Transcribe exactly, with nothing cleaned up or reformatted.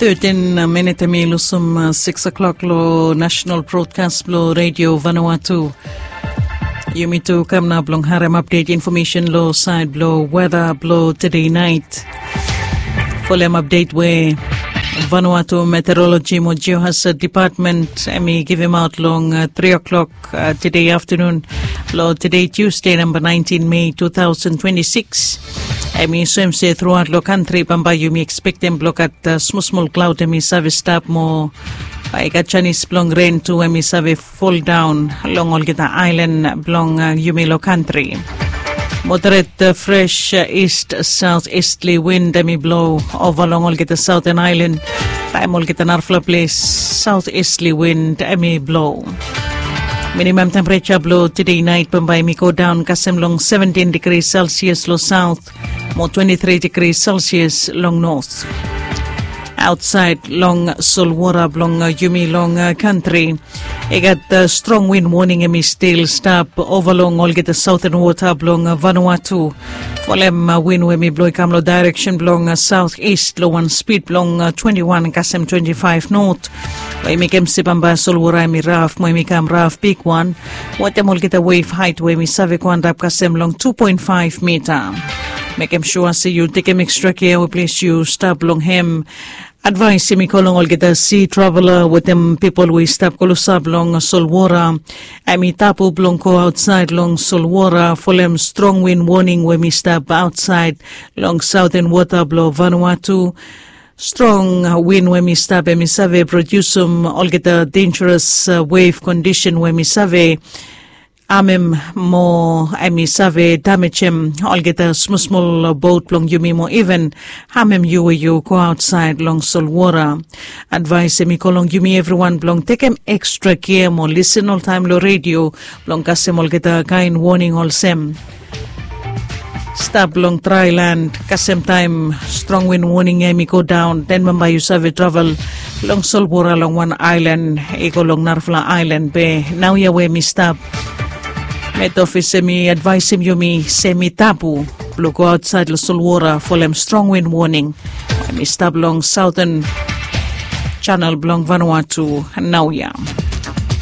Thirteen minit em i lusim six o'clock lo national broadcast blo Radio Vanuatu. Yumi tu kam nao blong harem update information lo side blo weather blo today night. Folem update we Vanuatu Meteorology mo Geohazard Department em i givim out long three o'clock today afternoon lo today Tuesday number nineteen May two thousand twenty-six. Em i soem se throughout lo country bambae yumi expectem blo gat small small cloud em i save stap mo bae i gat chanis blong ren tu em i save fall down long olgeta ailan blong yumi lo country. Moderate fresh east south eastly wind em i blo ova long olgeta southern island. Taem olgeta narafala ples south eastly wind em i blo. Minimum temperature blo today night bambae em i go down kasem long seventeen degrees Celsius lo south mo twenty-three degrees Celsius long north. Outside long solwara blong yumi long country, i gat strong wind warning em i stil stap ova long olgeta southern water blong Vanuatu. Folem wind we em i blo i kam lo direction blong south east lo wan speed blong twenty-one kasem twenty-five north. We i mekem se bambae solwara em i raf mo em i kam raf bigwan. Wetem olgeta wave height we em i save go antap kasem long two point five mita. Mekem sua se yu tekem extra kea we ples yu stap long hem. Advaes em i go long olgeta sea traveler wetem pipol we i stap klosap long solwara. Em i tabu blong go aotsaed long solwara folem strong wind warning we em i stap aotsaed long southern water blong Vanuatu. Strong wind we em i stap em i save produsim olgeta dangerous wave condition we em i save amem mo em i save damejem olgeta smosmol bot blong yumi mo even amem yu we yu go aotsaed long solwara. Advaes em i go long yumi evriwan blong tekem ekstra kea mo lisen oltaem long redio blong kasem olgeta kaen woning olsem stap long draelan kasem taem strong wind woning ya em i go daon den bambae yu save travel long solwara long wan aelan i go long narafala aelan be naoia we em i stap. Met ofis em i advaesim yumi se em i tabu blong go aotsaed long solwara folem strong wind woning em i stap long saoten janel blong Vanuatu naoia.